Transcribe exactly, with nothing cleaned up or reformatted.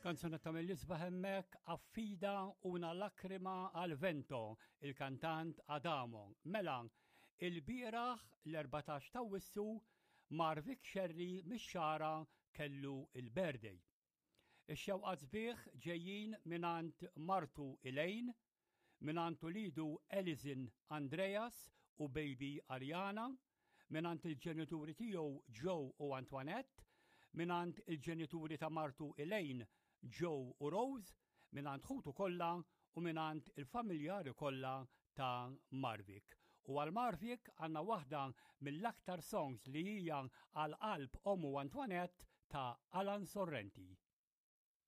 Kanzunetta mill-isbaħ hemmhekk, "Affida una lacrima al vento", il-kantant Adamo. Mela, il-bieraħ l-erbatax ta' Awwissu Marvic Scerri mix-Xagħra kellu il-birthday. Ix-xewqat sbieħ ġejjin mingħand martu Elaine, mingħand ulidu Elizin Andreas u baby Ariana, mingħand il-ġenituri tiegħu Joe u Antoinette, mingħand il-ġenituri ta' martu Elaine, Joe u Rose, mingħand ħutu kollha u mingħand il-familjari kollha ta' Marvik. U għal Marvik għandna waħda mill-aktar songs li hija għal qalb ommu Antoinette ta' Alan Sorrenti.